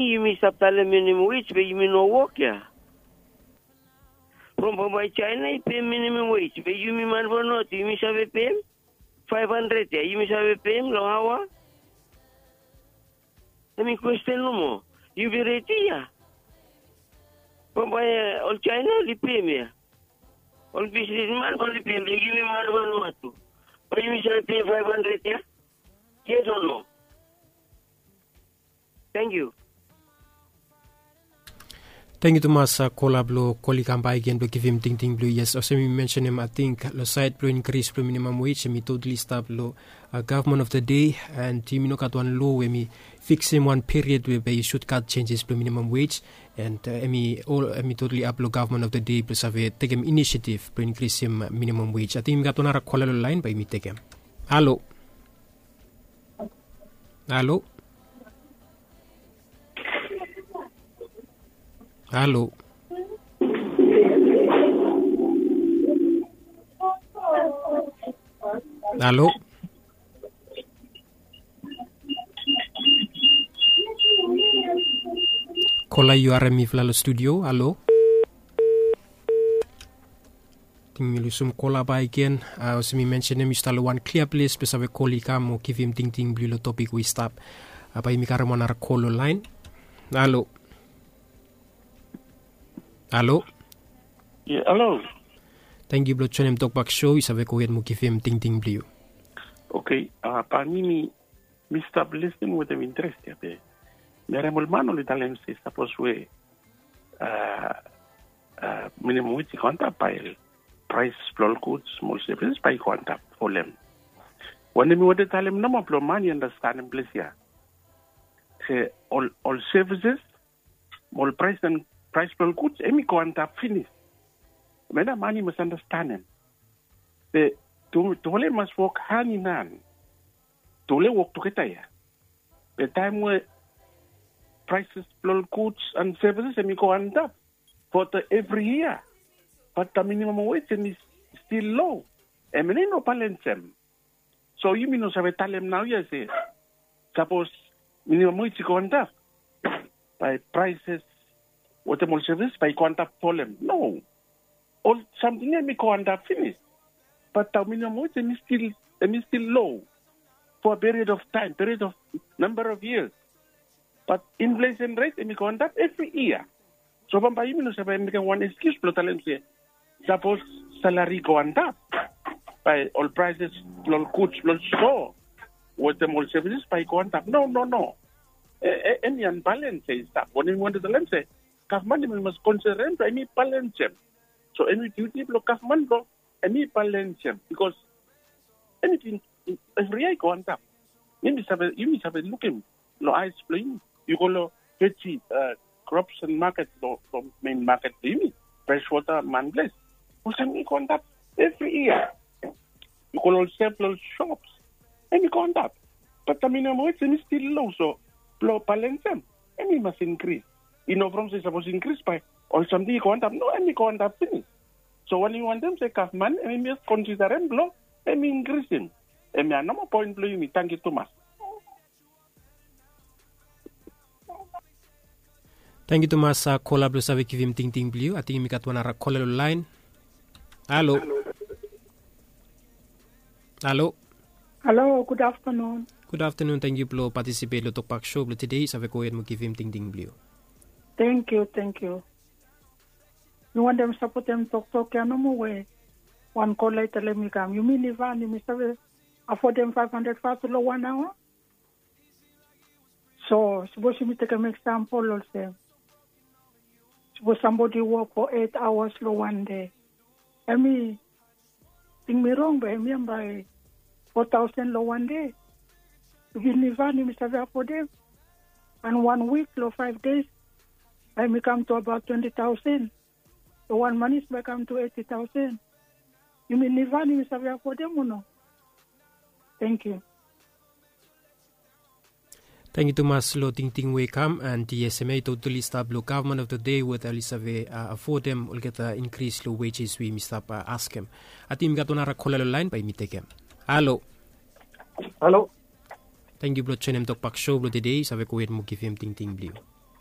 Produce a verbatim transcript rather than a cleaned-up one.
Yumi stap talem minimum wage be yumi no wok ya. From bambae China i pem minimum wage be yumi man Vanuatu yumi save pem five hundred ya yumi save pem long aoa. Em i kwesten nomo. Yumi redi ya. Bambae ol China oli pem ya. Ol bisnisman oli pem ya yumi man Vanuatu. Bae yumi save pem five hundred ya. Yes o no? Tangkiu. Tangkiu tumas kola blong kol i kam baik gen blong givim tingting blong yu yes olsem yumi mensenim ating long sait blong inkris blong minimam wej em i totali stap long gavman of the dei. And yumi no gat wan lo we em i fiksim wan period we bae i sut gat senjes blong minimam wej. And em i ol em i totali ap long gavman of the dei blong save tekem inisiativ blong inkrisim minimam wej ating yumi gat wan ara kola long lain bae yumi tekem. Halo. Halo. Halo. Halo. Kola yu harem mifala long studio halo. Ting mi lusum kola baik gen. Olsem mi mensenim yu stap long wan klia ples blong save kol i kam o givim tingting blong yu long topik we i stap. Bae yumi karim wan ara kol long lain. Halo. Halo. Halo. Tangkiu blong joinim tokbak sho yu save gohed mo givim tingting blong yu. Oke. Bae mi mi mi stap listening wetem interes ya be mi harem ol man oli talem se sapos we minimum wage i go antap bae prais blong ol guds mo ol sevis bae i go antap folem. Wanem mi wantem talem nomo blong man i anastenem ples ya se ol ol sevis mo ol prais blong ol guds em i go antap finis. Mena man i mas anastenem be tufala i mas wok han in han. Tufala i wok tugeta ya. Be taem we praises blong ol guds and sevises em i go antap fo evri yia. Bat da minimam wej em i stil lo. Em i no balensem. So yumi no save talem nao ya se sapos minimam wej i go antap bae praises wetem ol sevis bae i go antap folem no. Ol samting ya em i go antap finis. Bat da minimam wej em i stil em i stil lo fo a period of taem period of namba of yias. Bat inflesen ret em i go antap evri yia. So bambae yumi no save mekem wan eskius blong talem se sapos salari i go antap bae ol praises blong ol guds blong ol so wetem ol sevises bae i go antap no no no. Em i anbalens ya i stap wanem mi wantem talem se gavman em i mas konsiderem blong em i balensem. So em i diuti blong gavman blong em i balensem bikos em i bin evri yia i go antap. Yumi save lukim long aes blong yumi. Yu go long veji krops and maket long mein maket blong yumi, freswota manples, olsem i go antap evri yia. Yu go long ol sef long ol sops em i go antap. Bat da minimam wej em i stil lo so blong balensem em i mas inkris. I no from se sapos inkris bae ol samting i go antap no em i go antap finis. So wanem yu wantem se gavman em i mas konsiderem blong em i inkrisim. Em ya nomo poen blong yumi tangkiu tumas. Tangkiu tumas kola blong save givim tingting blong yu ating yumi gat wan ara kola long laen. Halo. Halo. Halo gud aftanun. Gud aftanun tangkiu blong patisipet long tokbak sho blong tede yu save gohed mo givim tingting blong yu. Tangkiu tangkiu. Mi wantem sapotem toktok ya nomo we wan kola i talem i kam yumi livan yumi save afodem faef handred fas long wan aoa. So sapos yumi tekem eksampol olsem sapos sambodi i wok fo eit aoas long wan de em i ting mi rong bae em ya bae fo taosen long wan de. Yumi livan yumi save afodem an wan wik long faef des bae em i kam tu abaot twenti taosen. Long wan manis bae i kam tu eti taosen. Yumi livan yumi save afodem o no? Tangkiu. Tangkiu tumas long tingting we i kam and yes em ya i totali stap long gavman of the dei weta oli save afodem olgeta inkris long wejes we yumi stap askem. Ating yumi gat wan ara kola long laen bae yumi tekem. Halo. Halo. Tangkiu blong joinim tokbak sho blong tede yu save gohed mo givim tingting blong yu.